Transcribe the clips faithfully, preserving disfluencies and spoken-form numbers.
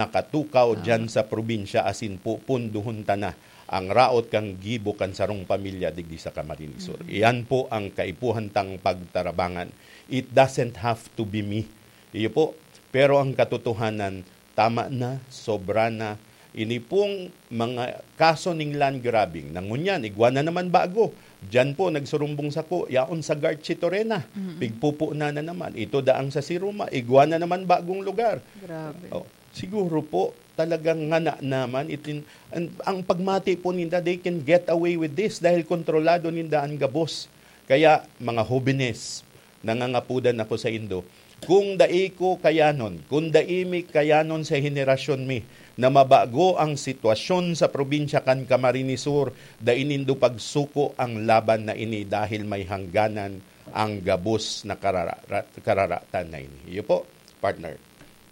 nakatukaw diyan sa probinsya, asin po punduhon ta na ang raot kan gibo kan sarong pamilya digdi sa Camarines Sur. Iyan po ang kaipuhan tang pagtarabangan. It doesn't have to be me. Iyo po. Pero ang katotohanan, tama na, sobra na. Ini pong mga kaso ning land grabbing, na ngunyan, igwa na naman bago. Diyan po, nagsurumbong sako, yaon sa Garchi Torena. Pigpupo na na naman. Ito daang sa Siruma, igwa na naman bagong lugar. Grabe. Oh, siguro po, talagang ngana naman. Itin, ang, ang pagmati po ninda, they can get away with this dahil kontrolado ninda ang gabos. Kaya, mga hobenes, nangangapudan ako sa indo, kung dai ko kayanon, kung dai mi kayanon sa henerasyon mi, na mabago ang sitwasyon sa probinsya kan Camarines Sur, dai nindo pagsuko ang laban na ini dahil may hangganan ang gabos na karara- kararatan na ini. Iyo po, partner.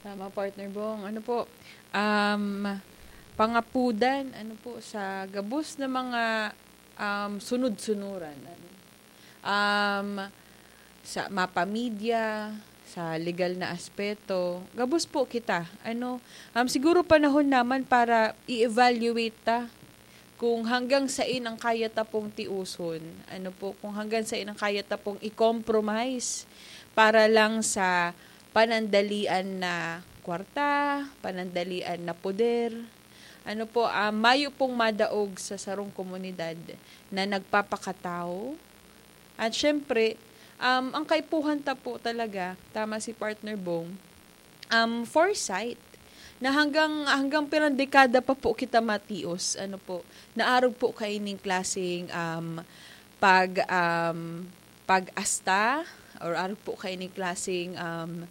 Tama, partner Bong. Ano po? Um, pangapudan, ano po, sa gabos na mga um, sunod-sunuran. Ano? Um, sa mapamidya, sa legal na aspeto, gabos po kita. Ano, um, siguro panahon naman para i-evaluate ta kung hanggang sain ang kaya ta pong tiuson, ano po, kung hanggang sain ang kaya ta pong i-compromise para lang sa panandalian na kwarta, panandalian na poder. Ano po, ah, mayo pong madaog sa sarong komunidad na nagpapakatao. At syempre, um, ang kaipuhan ta po talaga, tama si Partner Bong, um, foresight na hanggang hanggang pirang dekada pa po kita matios, ano po, naarog po kaining klaseng um, pag um, pag-asta or arog po kaining klaseng um,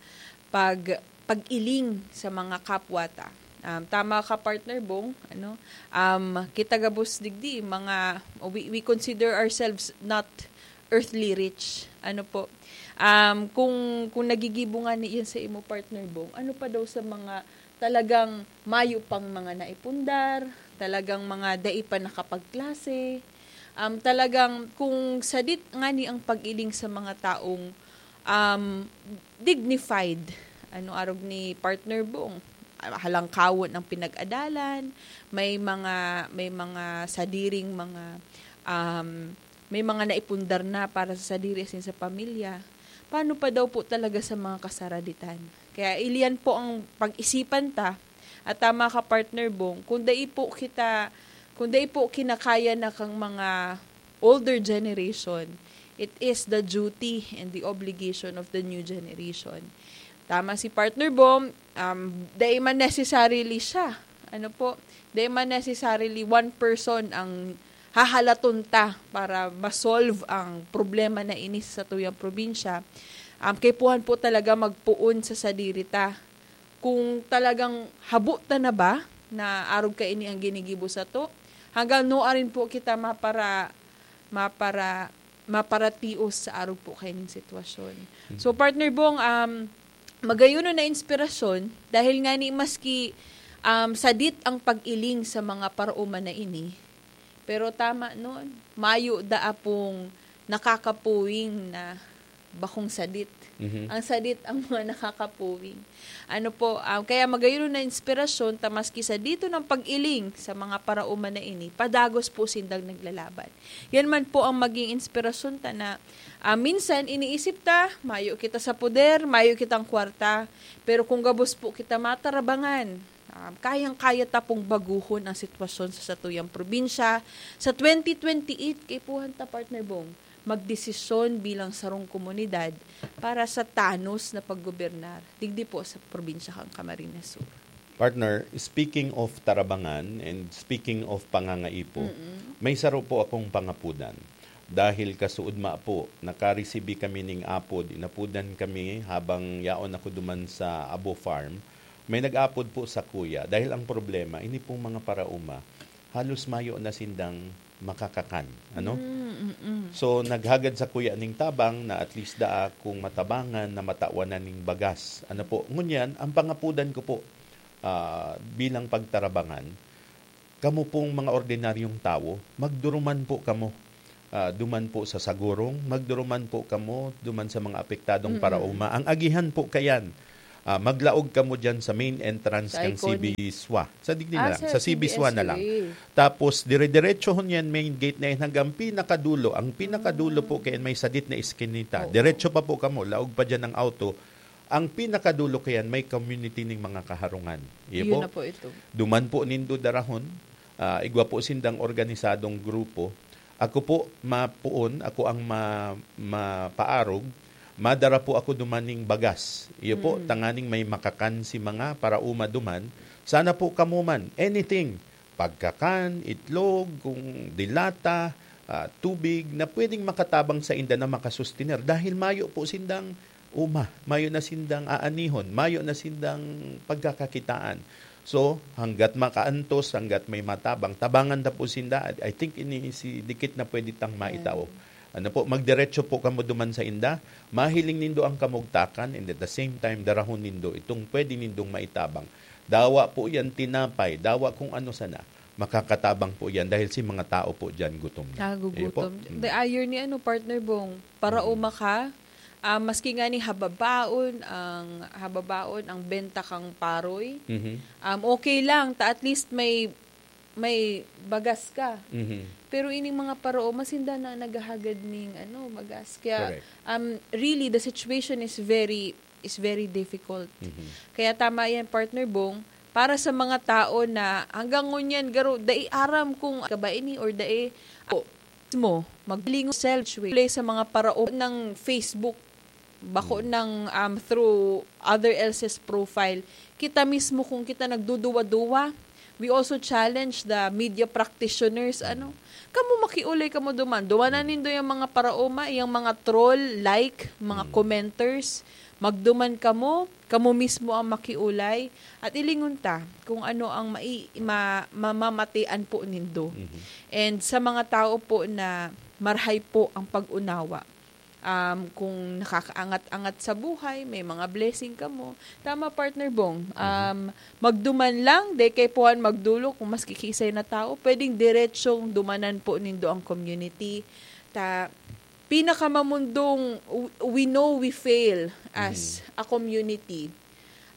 pag pag-iling sa mga kapwa ta. Um, tama ka, partner Bong, ano? Um, kita gabos digdi, mga we, we consider ourselves not earthly rich. Ano po? Um, kung kung nagigibo nga ni yan sa imo, partner Bong, ano pa daw sa mga talagang mayo pang mga naipundar, talagang mga dai pa nakapagklase. Um, talagang kung sadit nga ni ang pag-iling sa mga taong um, dignified, ano, arog ni partner Bong, halangkawon ang pinag-adalan, may mga may mga sadiring mga um, may mga naipundar na para sa sadiri asin sa pamilya. Paano pa daw po talaga sa mga kasaraditan? Kaya iliyan po ang pag-isipan ta at tama ka, partner Bong, kung dai po kita kung dai po kinakaya na kang mga older generation, it is the duty and the obligation of the new generation. Tama si partner Bong, um, dai man necessarily siya. Ano po? Dai man necessarily one person ang hahalaton ta para ma-solve ang problema na ini sa tuyang probinsya. Um, kaipuhan po talaga magpoon sa sadiri ta. Kung talagang habo ta na ba na arog kaini ang ginigibo sato, hanggang nuarin po kita mapara mapara maparatios sa arog po kaining sitwasyon. So, partner Bong, um, magayon na inspirasyon dahil nga ni maski um, sadit ang pag-iling sa mga parauman na ini, pero tama nun, mayo da apong nakakapuwing na bakong sadit. Ang sadit ang mga nakakapuwing. Ano po, um, kaya magayon na inspirasyon ta maski sa dito ng pag-iling sa mga parauman na ini, padagos po sindang naglalaban. Yan man po ang maging inspirasyon ta na ah, minsan iniisip ta, mayo kita sa poder, mayo kitang kwarta, pero kung gabos po kita matarabangan, ah, kayang-kaya ta pong baguhon ang sitwasyon sa satuyang probinsya. Sa twenty twenty-eight, kaipuhan ta, partner Bong, magdesisyon bilang sarong komunidad para sa tanos na paggobernar digdi po sa probinsya kan Camarines Sur. Partner, speaking of tarabangan and speaking of pangangaipo, may saro po akong pangapudan. Dahil kasuodma po, nakaresibi kami ning apod, inapudan kami habang yaon ako duman sa Abo Farm. May nag-apod po sa kuya, dahil ang problema, ini pong mga parauma, halos mayo na sindang makakakan, ano? Mm, mm, mm. So, naghagad sa kuya ning tabang na at least daa kung matabangan na matawan na ning bagas. Ano po? Ngunyan, ang pangapudan ko po, ah, bilang pagtarabangan, kamo pong mga ordinaryong tawo, magduruman po kamo. Ah, duman po sa Sagurong, magduruman po kamo, duman sa mga apektadong Mm. parauma. Ang agihan po kayan, Ah, maglaog kamo diyan sa main entrance Sa kan iconic. C B S W A. Sa digdi na Ah, lang, sa sa C B S W A na lang. C B S U A. Tapos, dire-diretsohon yan, main gate na yan, hanggang pinakadulo. Ang pinakadulo po, kaya may sadit na iskinita. Oo. Diretso pa po kamo, laog pa dyan ang auto. Ang pinakadulo kayan, may community ning mga kaharungan. Iyo Yun po. na po ito. Duman po nindo darahon, ah, igwa po sindang organisadong grupo. Ako po, mapuon, ako ang ma-, mapaarog. Madara po ako duman ning bagas. Iyo po, Mm. tanganing may makakan si mga paraoma duman. Sana po kamo man, anything, pagkakan, itlog, kung dilata, ah, tubig, na pwedeng makatabang sa inda na makasustener. Dahil mayo po sindang uma, mayo na sindang aanihon, mayo na sindang pagkakakitaan. So, hanggat makaantos, hanggat may matabang, tabangan ta po sinda. I think ini si dikit na pwede tang maitao. Yan. Ano po, magdiretso po kamo duman sa inda. Mahiling nindo ang kamugtakan, and at the same time, darahon nindo itong pwede nindong maitabang. Dawa po yan tinapay, dawa kung ano sana. Makakatabang po yan dahil si mga tao po dyan gutom na. Nagugutom. Iyo po. Mm. The irony, ano, Partner Bong, paraoma Mm. ka, ah, maski nga ni hababaon ang, hababaon ang benta kang paroy, Mhm. um, okay lang, ta at least may, may bagas ka. Mhm. Pero ining mga paraoma, sinda na naghahagad ning, ano, bagas. Kaya, Correct. um, really, the situation is very, is very difficult. Mhm. Kaya tama yan, Partner Bong, para sa mga tao na hanggang ngunyan, garo, dai aram kung ka ba ini or dai, o, mismo, maglingon self sa mga paraoma ng Facebook, bako Mm. ng, um, through other else's profile. Kita mismo kung kita nagduduwa-duwa, we also challenge the media practitioners, ano, kamo makiulay kamo duman. Dumanan nindo yung mga paraoma, yung mga troll, like, mga Mm. commenters. Magduman kamo, kamo mismo ang makiulay. At ilingon ta kung ano ang mai-, ma-, mamamatian po nindo. Mhm. And sa mga tao po na marhay po ang pag-unawa, um, kung nakakaangat-angat sa buhay, may mga blessing kamo. Tama, Partner Bong. Mhm. Um, magduman lang, di kay puhan magdulo kung mas kikisay na tao. Pwedeng diretsong dumanan po nindo ang community. Ta, pinakamamundong, w-, we know we fail as Mhm. a community.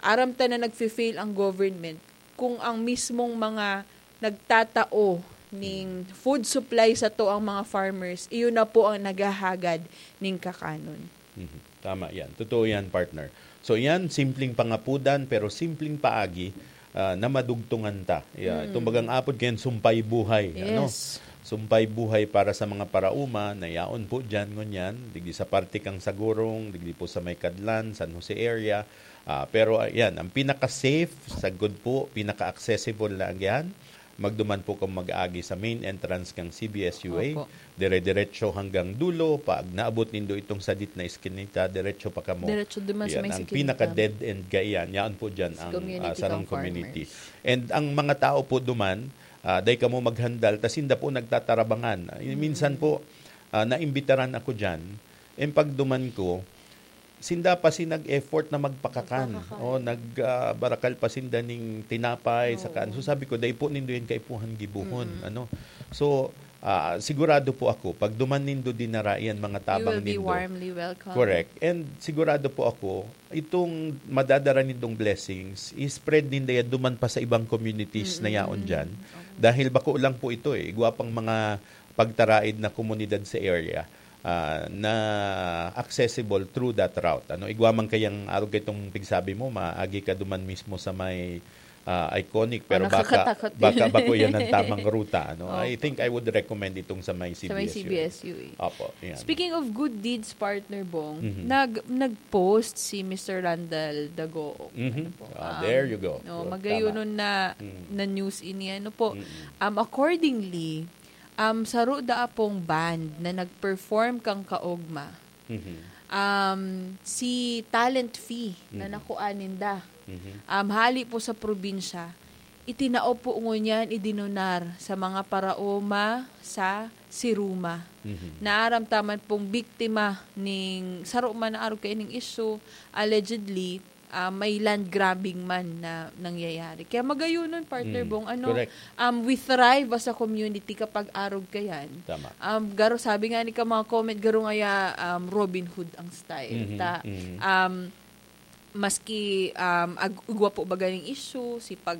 Aram ta na nagfe-fail ang government. Kung ang mismong mga nagtatao ning Mhm. food supply sato ang mga farmers, iyon na po ang naghahagad ning kakanon. Mhm. Tama yan. Totoo yan, partner. So yan, simpleng pangapudan, pero simpleng paagi, ah, na madugtungan ta. Yeah, Mm. itong bagang apod kayan, sumpay buhay. Ano? Yes. Sumpay buhay para sa mga paraoma na yaon po dyan, ngunyan, digdi sa parte kang Sagurong, digdi po sa may Kadlan, San Jose area. Ah, pero, ah, yan, ang pinaka-safe, sagkod po, pinaka-accessible na yan, magduman po kung mag-agi sa main entrance kang C B S U A, Opo. dire-diretso hanggang dulo, pag naabot nindo itong sadit na iskinita, diretso pa kamo. Diretso duman sa Yan, may ang sikilita. pinaka-dead end kaiyan, yaon po dyan Sa ang, community ah, sarong kang community. farmers. And ang mga tao po duman, ah, dai kamo maghandal, ta sinda po nagtatarabangan. Minsan Mm. po, ah, naimbitaran ako dyan, and pagduman ko, sinda pa si nag-effort na magpakakan. Magpakakan. O, nag, ah, barakal pa sinda ning tinapay, Oo. saka ano. So, sabi ko, "Dai po nindo yan kaipuhan gibohon." Mm. Ano? So, ah, sigurado po ako, pag duman nindo dinara yan, mga You tabang will be nindo. warmly welcome. Correct. And sigurado po ako, itong madadara nindong blessings, i-spread ninda yan duman pa sa ibang communities na yaon Mm-mm. dyan. Oo. Dahil bako lang po ito eh. Igwa pang mga pagtaraid na komunidad sa area, ah, na accessible through that route. Ano, igwa man kayang arog kay itong pigsabi mo, maagi ka duman mismo sa may, ah, iconic, Oh, pero baka, nakakatakot baka din. bako yan ang tamang ruta. Ano? I Opo. think I would recommend itong sa may Sa may C B S U A. C B S U A. Opo, yan. Speaking of good deeds, Partner Bong, Mhm. nag-, nag-post si Mister Randall Dagoong. Mhm. Ano po? Ah, Um, there you go. no, Oh, magayonon tama. na, Mm. na news ini. Ano po? Mm-mm. Um, accordingly, um, saro daa pong band na nag-perform kan kaogma. Mhm. Um, si Talent Fee na Mhm. nakuha ninda. Mhm. Um, hali po sa probinsya, itinao po ngunyan, idinunar sa mga paraoma sa Siruma. Mhm. Naaram ta man pong biktima ning saro man na arog kaining isyu, allegedly, ah, may land grabbing man na nangyayari. Kaya magayonon, Partner Mm, Bong, ano, correct. um, we thrive as a community kapag arog kayan. Tama. Um, garo, sabi nga ni ka mga comment, garo ngaya, um, Robin Hood ang style. Mhm, Ta, mhm. um, maski, um, ag-, igwa po ba ganing issue, si pag,